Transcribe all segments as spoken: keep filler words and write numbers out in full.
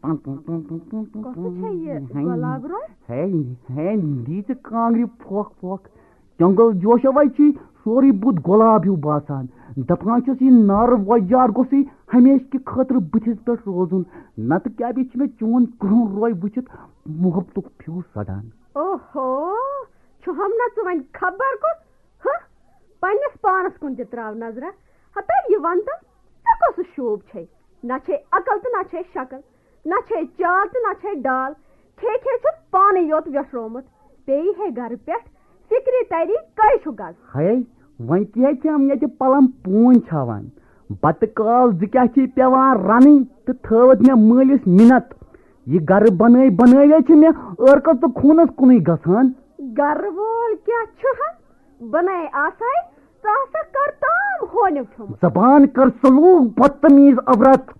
کۄسہٕ چھےٚ یہِ گۄلاب روٚس؟ ہے، ہے، دی ژٕ کانٛگرِ پھۄکھ پھۄکھ۔ جنگل جوشو وَے چھُے سورُے بُتھ گۄلاب ہیوٗ باسان۔ دَپان چھُس، یہِ نارٕ وۄجار گوٚژھُے ہمیشہٕ کہِ خٲطرٕ بٕتھِس پٮ۪ٹھ روزُن، نَتہٕ کیٛاہ بیٚیہِ چھُ مےٚ چون کرٛہُن روے وٕچھِتھ محبتُک پھیوٗ سَڑان۔ اوہو، چھُہَم نہ ژٕ وۄنۍ خبر کُس؟ ہہ؟ پننِس پانس کُن تہِ تراو نظرہ۔ ہتا یہِ ون تہٕ، ژےٚ کۄسُے شوٗب چھے؟ نہ چھے عقل تہٕ نہ چھے شکل، نہ چھے چال تہٕ نہ چھے ڈال۔ کھے کھے چھُ پانے یوت ویٹھرومُت۔ بیٚیہِ ہے گرٕ پٮ۪ٹھ فکرِ تری کٔہۍ چھُ گز۔ ہے، وۄنۍ کیٛاہ کھٮ۪م ییٚتہِ پلم پوٗنۍ چھاوان؟ بتہٕ کال زٕ کیٛاہ چھِ پٮ۪وان رنٕنۍ تہٕ تھٲوٕتھ مےٚ مٲلِس مِنت۔ یہِ گرٕ بنٲے بنٲوے چھِ مےٚ ٲرکس تہٕ خوٗنس کُنُے گژھان۔ گرٕ وول کیٛاہ چھُ ہا؟ بناے آساے، ژٕ ہسا کر تام ہونیو کھیوٚمُت۔ زبان کر سلوک بدتمیز عورت۔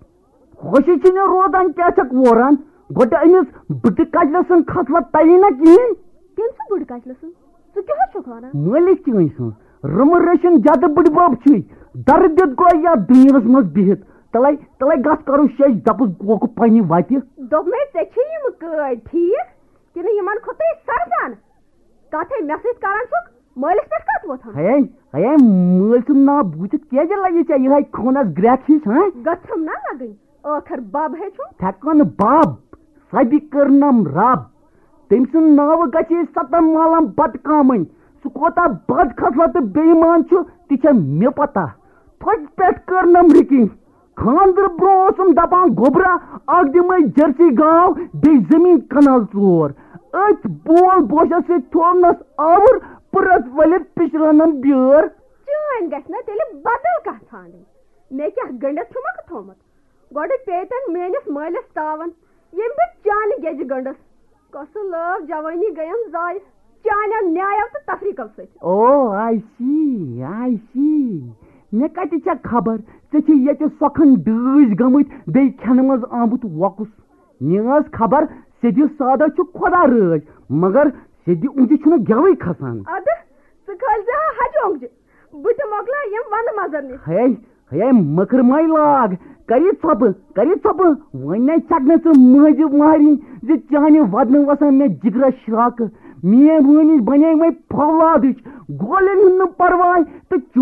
خوشی چھِ مےٚ روزان کیٛاہ چھکھ ووران؟ گۄڈٕ أمِس بٕڈٕ کجلہٕ سٕنٛز خصلت تَوی نہ کِہیٖنۍ۔ کٔمۍ سٕنٛز بٕڈٕ کجلہٕ سٕنٛز؟ ژٕ کیٛاہ حظ چھُکھ وَنان؟ مٲلِس چٲنۍ سٕنٛز۔ رٕمہٕ رٔشِن جدٕ بٕڈِ بب چھُے۔ درٕ دِتھ گوٚو یَتھ دُنیاہَس منٛز بِہِتھ۔ تَلَے، تَلَے گژھ کَرو شیٚچھ دَپُس گوکہٕ پنٛنہِ وَتہِ۔ دوٚپمَے ژےٚ چھے یِم کٲڑۍ ٹھیٖک کِنہٕ یِمَن کھوٚتُے سرزَن؟ کتھے مےٚ سۭتۍ کران چھُکھ، مٲلِس پٮ۪ٹھ کتھ وۄتھان؟ ہے، ہے، مٲلۍ سُنٛد ناو بوٗزِتھ کیٛازِ لگہِ ژےٚ یِہے خوٗنس گرٛٮ۪کھ ہِش، ہاں؟ گٔژھٕم نا لگٕنۍ، ٲخر بب ہے چھُم۔ تھٮ۪کن بب، سۄ تہِ کٔرنم رب۔ تٔمۍ سُنٛد ناوٕ گژھِ ستن مالن بتہٕ کامٕنۍ۔ سُہ کوٗتاہ بد خصلت تہٕ بے ایمان چھُ، تہِ چھےٚ مےٚ پتہ۔ تھۄکہِ پٮ۪ٹھ کٔرنم رِکِنۍ۔ خانٛدرٕ برٛونٛہہ اوسُم دپان، گوٚبرا، اکھ دِمے جرسی گاو، بیٚیہِ زٔمیٖن کنال ژور۔ أتھۍ بول بوشس سۭتۍ تھوونس آوُر، پٕرس ؤلِتھ پِشرٲونم بیٲر۔ چٲنۍ گژھِ نا تیٚلہِ بدل کانٛہہ ژھانٛڈٕنۍ۔ مےٚ کیٛاہ گٔنڈِتھ چھُمکھ تھوٚمُت؟ گۄڈٕ پیٚیہِ تن میٲنِس مٲلِس تاون، ییٚمۍ بہٕ چانہِ گیٚجہِ گٔنڈٕس۔ کۄسہٕ لٲو جوٲنی گٔیم ضایع چانیو نیایو تہٕ تفریقو سۭتۍ۔ او، I see, I see۔ مےٚ کتہِ چھےٚ خبر؟ ژےٚ چھے ییٚتہِ سۄکھن ڈٲسۍ گٔمٕتۍ، بیٚیہِ کھٮ۪نہٕ منٛز آمُت وۄکُس۔ مےٚ ٲس خبر، سیٚدِ سادہ چھُ خۄدا رٲضۍ، مگر سیٚدِ اونٛگجہِ چھُنہٕ گٮ۪وٕے کھسان۔ ادٕ، ژٕ کھٲلۍ زِ ہا ہجہِ اونٛگجہِ، بہٕ تہِ مۄکلاو یِم ونٛدٕ مزر نِتھ۔ ہے، ہے، مٔکٕر مَے لاگ، کر یہِ ژھۄپہٕ، کر یہِ ژھۄپہٕ۔ وۄنۍ نے ژکھ نہٕ ژٕ مٲنٛزِ مہرِنۍ زِ چانہِ ودنہٕ وسان مےٚ جگرس شراکہٕ۔ میٲنۍ وٲنِج بنے وۄنۍ فولادٕچ، گولٮ۪ن ہُنٛد نہٕ پرواے تہٕ چون